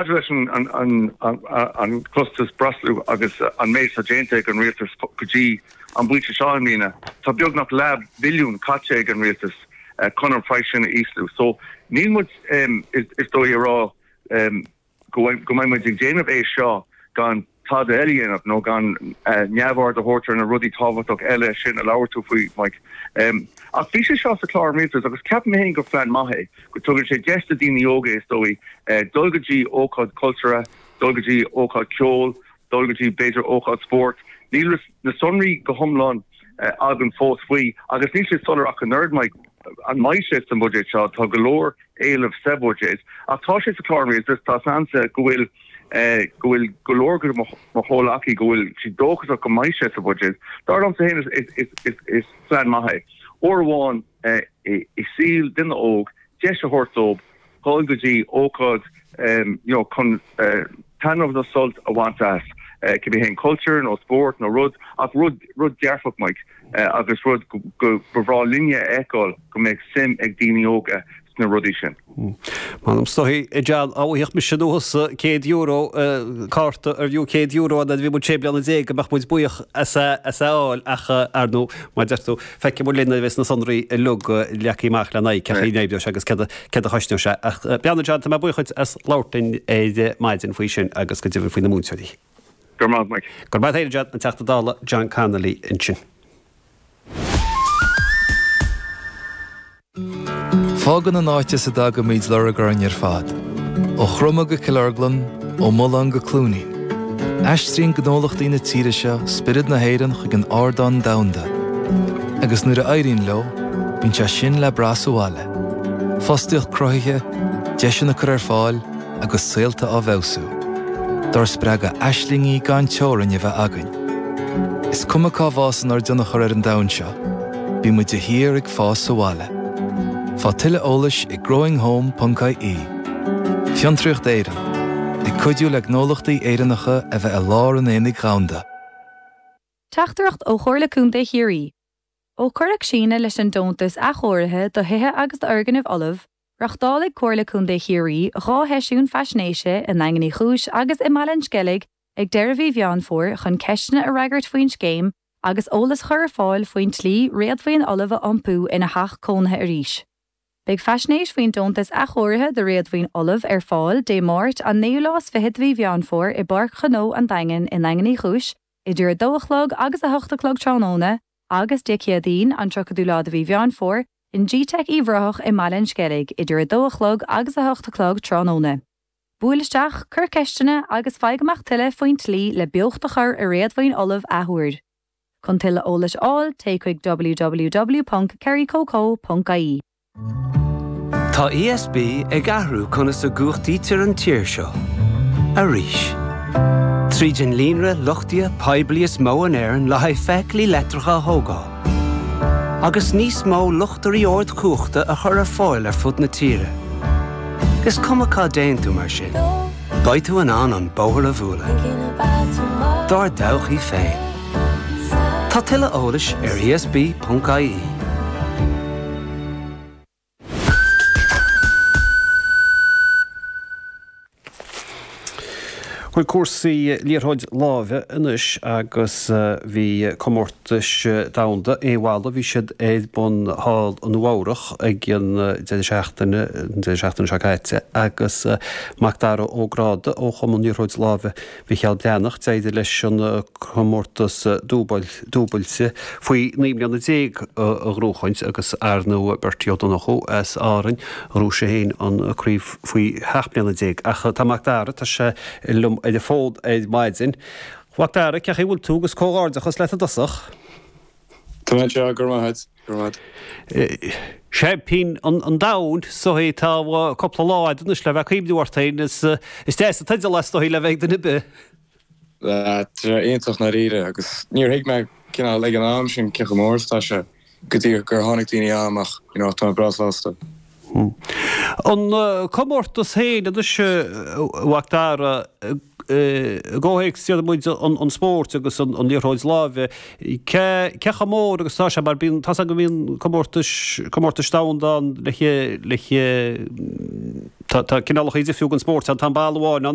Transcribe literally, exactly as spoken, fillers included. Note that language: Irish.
Maidir leis an an costas breosla agus an méid atá déanta ag an rialtas go dtí an bpointe seo i mbliana, tá beagnach leath billiún caite ag an rialtas chun an praghas sin a ísliú. So níl muid is dóigh a rá go mbeidh muid ag déanamh é seo gan tada eile a dhéanamh nó gan neamhaird a thabhairt ar na rudaí tábhachtach eile sin a labhair tú faoi, Mike. Ach bhí sé seo sa chlár an rialtais agus ceapaim féin gur phlean maith é, go dtugann sé deis do daoine óga is dóigh dul go dtí ócáid cultúrtha, dul go dtí ócáid ceoil, dul go dtí b'fhéidir ócáid spóirt. Níl na sonraí go hiomlán againn fós faoi agus níl sé soiléir ach an oiread, Mike, an mbeidh sé sa mbuiséad seo, tá go leor éileamh sa bhuiséad ach tá sé sa chlár an rialtais, tá seans go bhfuil go bhfuil go leor de mo chomhleacaí go bhfuil siad dóchasach go mbeidh sé sa bhuiséad. Dar liomsa féin is plean maith é. Uair amháin i saol duine óg deis a thabhairt dóibh dul go dtí ócáid you know chun taitneamh nó sult a bhaint as, cibé haon cultúr nó spórt nó rud ach rud rud dearfach Mike agus rud go ba bhreá linne a fheiceáil go mbeadh suim ag daoine óga sna rudaí sin. M'anam is dóigh, a John, dá bhfaigheadh mise nó thusa céad euro, cárta ar fiú céad euro nuair a bhí muid sé bliana déag go mbeadh muid buíoch as é a fháil ach ar ndóigh, mar a deir tú, feicfidh muid linn nuair a bheas na sonraí uilig leagtha amach lena aghaidh cén chaoi a n-oibreoidh sé agus céard a chosnóidh sé. Ach beannacht, John, tá mé buíoch dhuit as labhairt linn ar maidin faoi sin agus go deimhin faoi na múinteoirí. Go raibh maith, Mike. Go raibh maith agat, John, an Teachta Dála John Connolly ansin. Fágann an áit as a dtagaimid lorg orainn ar fad. Ó Chroma go Cill Orglan, ó Mullán go Cluainín. Aistríonn gnólachtaí na tíre seo spiorad na hÉireann chuig an ardán domhanda. Agus nuair a éiríonn leo, bíonn sé sin le brath sa bhaile. Fostaíocht cruthaithe, deiseanna curtha ar fáil agus saolta á bhfeabhsú. Dár spreagadh aislingí gan teorainn a bheith againn. Is cuma cá bhfásann ár dtionchar ar an domhan seo, bíonn muid de shíor ag fás sa bhaile. Faigh tuilleadh eolais ag growinghome ponc ie. Fiontraíocht Éireann, ag cuidiú le gnólachtaí Éireannacha a bheith i lár an aonaigh dhomhanda. Teachtaireacht ó Chomhairle Contae Chiarraí. Ó cuireadh síneadh leis an deontas athchóirithe do thithe agus d'fhoirgnimh fholamh, reáchtálfaidh Comhairle Contae Chiarraí dhá sheisiún faisnéise i nDaingean Uí Chúis agus i mBaile an Sceilg ag deireadh mhí Mheán Fómhair chun ceisteanna a fhreagairt faoin scéim agus eolas a chur ar fáil faoin tslí réadmhaoin fholamh a iompú ina theach cónaithe arís. Beidh faisnéis faoin deontas athchóirithe do réadmhaoin fholamh ar fáil Dé Máirt an naoú lá is fiche de mhí Mheán Fómhair i bPáirc Ghnó an Daingin i nDaingean Uí Chúis idir a dó a chlog agus a hocht a chlog tráthnóna agus Dé Céadaoin an tríochadú lá de mhí Mheán Fómhair in gteic Uíbh Ráthach i mBaile an Sceilg idir a dó a chlog agus a hocht a chlog tráthnóna. Buail isteach, cuir ceisteanna agus faigh amach tuilleadh faoin tslí le beocht a chur i réadmhaoin fholamh athuair. Chun tuilleadh eolais a fháil, téigh chuig www.kerrycoco.ie. Tá ESB ag athrú conas a gcumhachtaítear an tír seo. Arís. Tríd an líonra luchtaithe poiblí is mó in Éirinn le haghaidh feithiclí leictreacha a thógáil. Agus níos mó luchtairí ardchumhachta a chur ar fáil ar fud na tíre. Is cuma cá dtéann tú mar sin. Beidh tú in ann an bóthar a bhualadh. Dár dtodhchaí féin. Tá tuilleadh eolais ar ESB.ie. Chuig cúrsaí liathróid láimhe anois agus bhí comórtais domhanda aon bhalla, bhí siad ar bun thall i Nua Eabhrach ag an deireadh seachtaine, an deireadh seachtaine seo caite agus Macdara Ó Gráda ó Chumann Liathróid Láimhe Mhicheál Breathnach, d'éirigh leis an comórtas dúbailte faoi naoi mbliana déag a ghnóchaint agus ar ndóigh Bertie Ó Donnchú as Árainn, ghnóthaigh sé féin an craobh faoi sheacht mbliana déag. Ach tá Macdara, tá sé liom ar an bhfón ar maidin. Macdara, cén chaoi a bhfuil tú agus comhghairdeachas leat i dtosach. Tá mé anseo, go raibh maith agat, go raibh maith agat. Seaimpín an domhain, is dóigh, tá cúpla lá agat anois le bheith ag cuimhniú ort féin, is is deas an teideal é is dóigh le bheith ag duine ar bith. Tá sé iontach ndáiríre agus níor thuig mé cineál ag an am sin cé chomh mór is atá sé go dtí gur tháinig daoine agam ach you know tá mé breá sásta. An comórtas féin anois, a Mhacdara, i gcomhthéacs déarfaidh muid an spóirt agus an liathróid láimhe, cé cé chomh mór agus atá sé mar bíonn, tá's agam go mbíonn comórtais, comórtais domhanda ann le le Tá cineálacha difriúla den spórt ann, tá an balla amháin ann